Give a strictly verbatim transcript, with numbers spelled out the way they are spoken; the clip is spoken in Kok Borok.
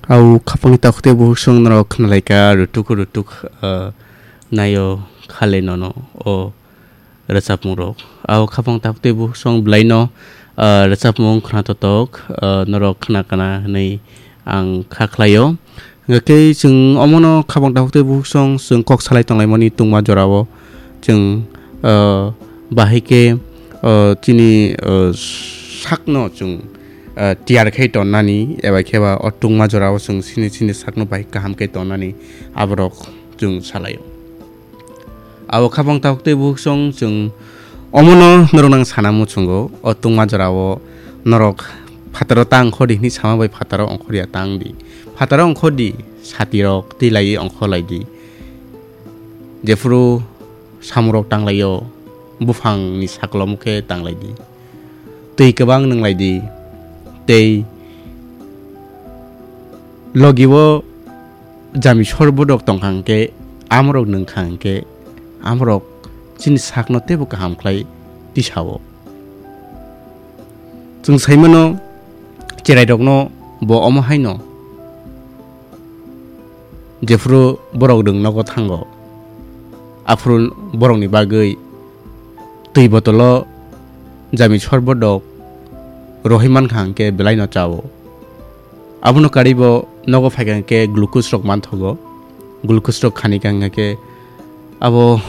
Au khapangni takhuk tei bukhuk song norok khnalaikha rutuk rutuk, ah, naio khale nono o rwchapmung rok. Au khapang takhuk tei bukhuk song bwlaino, ah, rwchapmung khna totok, ah, norok khna kana hwnwi ang kha khlaio. Hwnkhe chwng omono khapang takhuk tei bukhuk song chwng kok salai tonglaimani tungma jorao chwng, ah, bahai khe, ah, chini, ah, sakno chwng, ah, tiyar khai tonnani eba khe ba o tungma jorao chwng chini chini sakno bahai kaham khe tonnani aborok chwng salaio. Abo khapang takhuk tei bukhuk song chwng omono norok nang sana muchungo, o tungma jorao norok phataro ta ongkhor di hwnwi sama bai phataro ongkhor ya tang di. Phataro ongkhor di, sati rok twi lai ongkhor lai di. Jephuru samung rok tang laio, buphang ni saklomo khe tang lai di. Twi kwbang nwng lai di. Tei logi o jami sorbot rok tong kha hwnkhe, amorok nwng kha hwnkhe, amorok chini sakno teibo kaham khlai tisao. Chwng sai mano, cherai rokno bo omo hai no, jephuru borok nwng nogo thango, aphuru borokni bagwi twi botolo jami sorbot rok rohoi man kha hwnkhe belai no chao. Abono karwi bo nogo phai kha hwnkhe glucose rok manthogo. Glucose rok khani kha hwnkhe abo